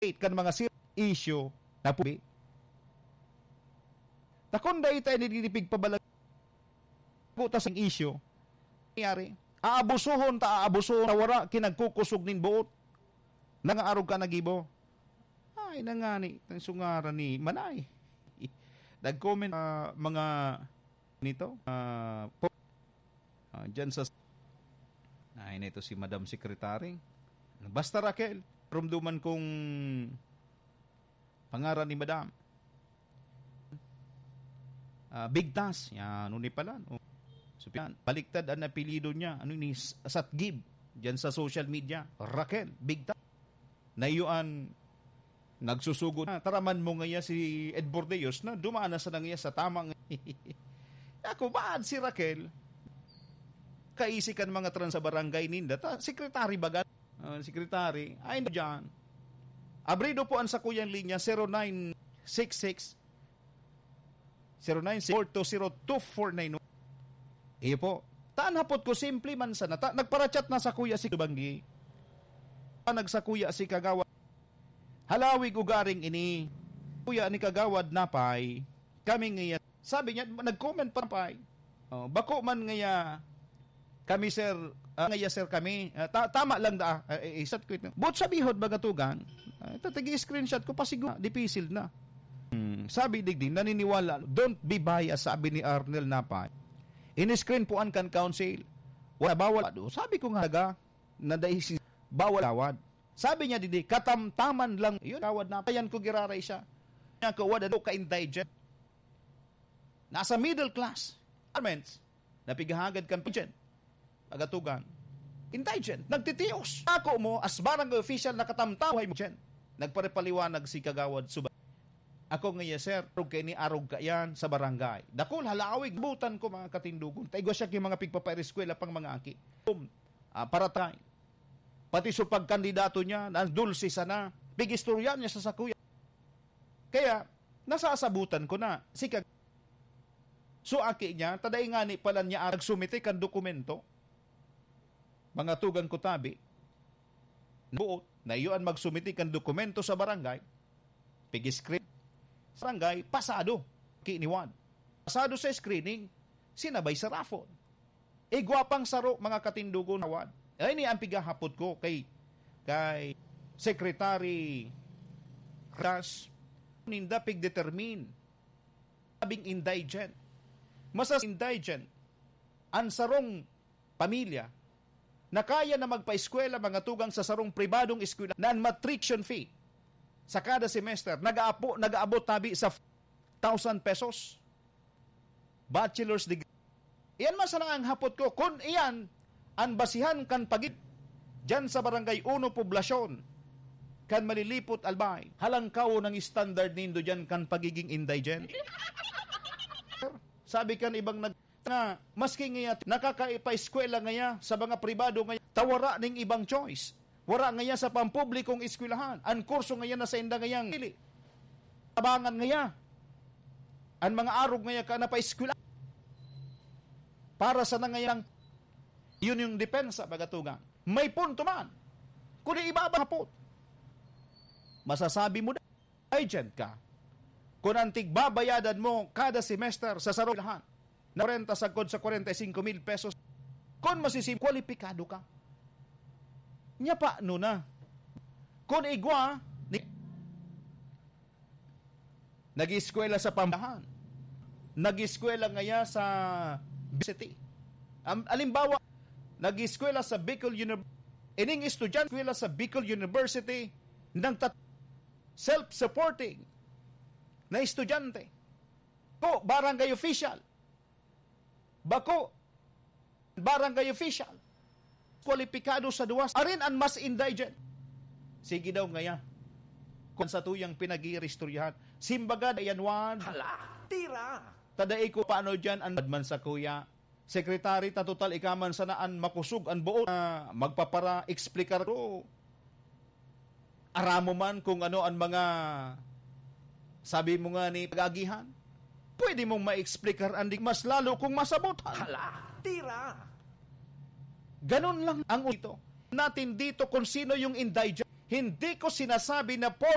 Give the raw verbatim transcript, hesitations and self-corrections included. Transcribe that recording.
kan mga serious issue na pubi. Takon dai ta ini pigpabalag-, ta sa isyu. Nangyari, aabusuhon ta, aabusuhon ta, wara ki nagkukusog nin boot. Nangaarog ka nagibo. Ay, nangani, ang sungaran ni Manay. Nag-comment, ah, mga nito, ah, po, ah, dyan sa, ay, nito si Madam Secretary. Basta, Raquel, rumduman kong pangaran ni Madam. Ah, Bigtas. Yan, ano ni pala? Oh. So, yan. Baliktad ang apelyido niya. Ano ni S-, Satgib? Diyan sa social media. Raquel, Bigtas. Naiyoan, nagsusugo na. Taraman mo ngaya si Ed Bordeos na dumaan na sa nangya sa tamang. Ako, baad si Raquel? Kaisi kan mga trans sa barangay ninda. Ta, sekretary baga? Ah, sekretary. Ay, diyan. Abrido po ang sakuyang linya, zero nine six six, zero nine six four two zero two four nine one. Iyo po. Tan hapot ko, simple man sana. Ta, nagparachat na sakuya si Banggi. Ah, nagsakuya si Kagawad. Halawig ugaring ini. Kuya ni Kagawad Napay. Kami ngayon. Sabi niya, nag-comment pa Napay. Oh, bako man ngaya kami, sir, ah, ngaya, sir, kami. Ah, ta-, tama lang da, ah, eh, isat ko ito. But sabihon, mga tugang, ah, ito, tagi-screenshot ko, pasiguro, dipisil na. Hmm, sabi digdi, naniniwala, "Don't be biased," sabi ni Arnel Napay. In-screen po an kan council. Wala bawal. Sabi ko nga, taga, na dahil si bawal awad. Sabi niya, "Didi, katamtaman lang." Yun, awad na. Ayan ko, giraray siya. Niya ko, wala daw ka-indigent. Nasa middle class. Garments. Napighahagad kan pageant. Pagatugan. Indigent. Nagtitios. Ako mo, as barangay official, nakatamtaw hay mo dyan. Nagparepaliwanag si Kagawad Suba. Ako nga, "Yes, sir. Arog ka ini, arog ka yan sa barangay." Dakul, halawig, butan ko, mga katindugon. Taigwa siya ki mga pigpapaireskwela pang mga aki. Um, ah, paratay. Pati sa pagkandidato niya, na dulce sana. Pig-istorya niya sa sakuya. Kaya, nasasabutan ko na. Si Kag-, so, aki niya, taday ngani pala niya nagsumite kan dokumento. Mga tugang ko tabi, buot, na iyo an magsumite kan dokumento sa barangay, pig-screen. Sa barangay, pasado, kiniwan. Pasado sa screening, sinabay sa raffle. Igwa pang saro, mga katindugon, awad. Ay, ni ang pigahapot ko kay, kay Secretary Ras, ninda pig-determine. Sabing indigent. Masas indigent. Ang sarong pamilya na kaya na magpaeskwela, mga tugang, sa sarong pribadong eskwela na ang matriction fee sa kada semester nag-aapo-, nag-aabot tabi sa thousand pesos. Bachelor's degree. Iyan man sana ang hapot ko. Kun iyan ang basihan kan pagid diyan sa Barangay Uno Poblasyon, kan Malilipot, Albay, halangkaw ng standard nindo diyan kan pagiging indigent. Sabi kan ibang nag-, nga, maski ngaya nakakaipaeskwela ngaya sa mga pribado ngaya, ta wara ning ibang choice. Wara ngaya sa pampublikong eskwelahan. Ang kurso ngaya na sa inda ngayang pili. Tabangan ngaya. Ang mga arog ngaya ka na paeskwela. Para sa nangayang, yun yung depensa, pagatugang. May punto man. Kung ibabahapot, masasabi mo na, agent ka. Kung ang tigbabayadan mo kada semester sa sarong lahan, na kwarenta sagkod sa kwarenta y singko mil pesos, kung masisim-, kwalipikado ka. Nya pa, no na? Kung igwa, ni-, nag-eskwela sa pambahan, nag-eskwela ngaya sa city. Am-, alimbawa, nag-eskwela sa Bicol University, ining estudyante, eskwela sa Bicol University, nang tat-, self-supporting na estudyante. Ko, barangay official. Bako, barangay official. Kwalipikado sa duwas. Arin an mas indigent. Sige daw ngaya. Kung sa tuyang pinag-iiristoryahan. Simbaga, ayan wan. Hala, tira! Tadai ko paano dyan an man sa kuya. Secretary, ta total ikaman sana an makusog an buot na magpapara-explicar ko. Aramo man kung ano an mga sabi mo nga ni pag-agihan. Pwede mong ma-explicar an di mas lalo kung masabot. Hala, tira! Ganun lang ang ito. Natin dito kung sino yung indigent. Hindi ko sinasabi na por